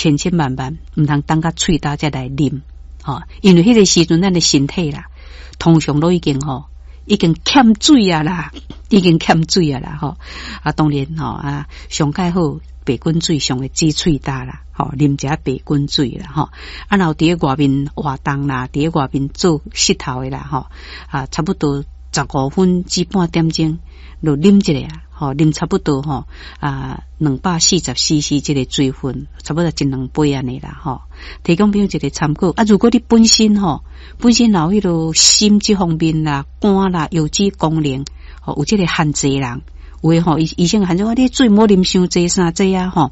千千萬萬毋通等甲喙焦才來啉，吼，因為彼個時陣咱的身體啦，通常攏已經吼，已經欠水啊啦，已經欠水啊啦，吼啊，當然吼啊，上蓋好白滾水上會止喙焦啦，吼，啉一下白滾水啦，吼啊，若有佇咧外面活動啦，佇咧外面做穡頭的啦，吼啊，差不多15分至半點鐘，就啉一下啊，吼，啉差不多吼啊，240 cc 這個水分，差不多一兩杯按呢啦，吼，提供朋友一個參考啊。如果你本身吼，本身有彼個心這方面啦、肝啦、腰子功能，吼有這個限制人，有的吼醫生限制講你水毋好啉傷濟啥濟啊，吼，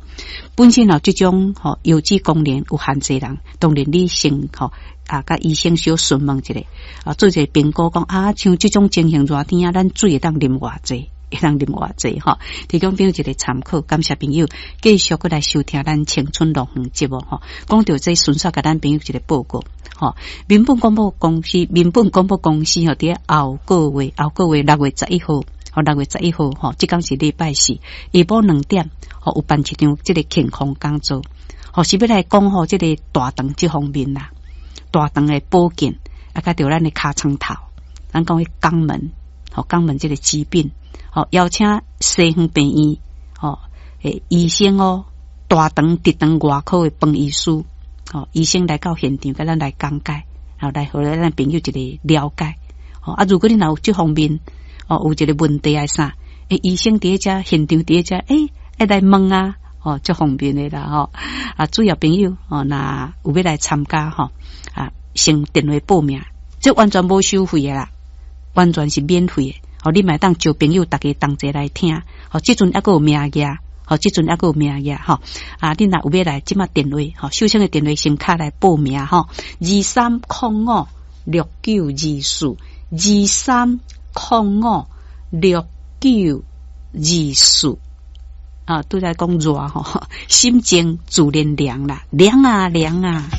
本身有這種吼腰子功能有限制人，當然你先吼啊，佮醫生小詢問一下，啊，做一個評估講啊，像這種情形熱天啊，咱水會當啉偌濟？會當啉偌濟吼，提供朋友一個參考，感謝朋友繼續閣來收聽咱青春樂園節目吼。講著這順續共咱朋友一個報告吼。民本廣播公司，民本廣播公司吼，佇咧後個月，後個月6月11號，吼六月十一號吼，這工是禮拜四，下晡2點吼有辦一場這個健康講座，吼是欲來講吼這個大腸這方面啦，大腸的保健啊，佮著咱的尻川頭，咱講彼肛門，吼肛門這個疾病。吼，邀請西園病院吼，欸，醫生哦，大腸直腸外科的彭醫師，吼，醫生來到現場，共咱來講解，吼，來予咱朋友一個了解。吼啊，如果你若有這方面哦，有一個問題還啥，欸，醫生佇咧遮現場佇咧遮，欸，會來問啊，吼，足方便的啦，吼。啊，主要朋友哦，若有欲來參加吼，啊，先電話報名，這完全無收費的啦，完全是免費的。吼，你嘛會當招朋友，逐家同齊來聽。吼，這陣猶閣有名額，吼，這陣猶閣有名額，吼。啊，你若有欲來，這馬電話，吼，手上的電話先敲來報名，吼，23056924，23056924。啊，拄才講熱吼，心靜自然涼啦，涼啊涼啊。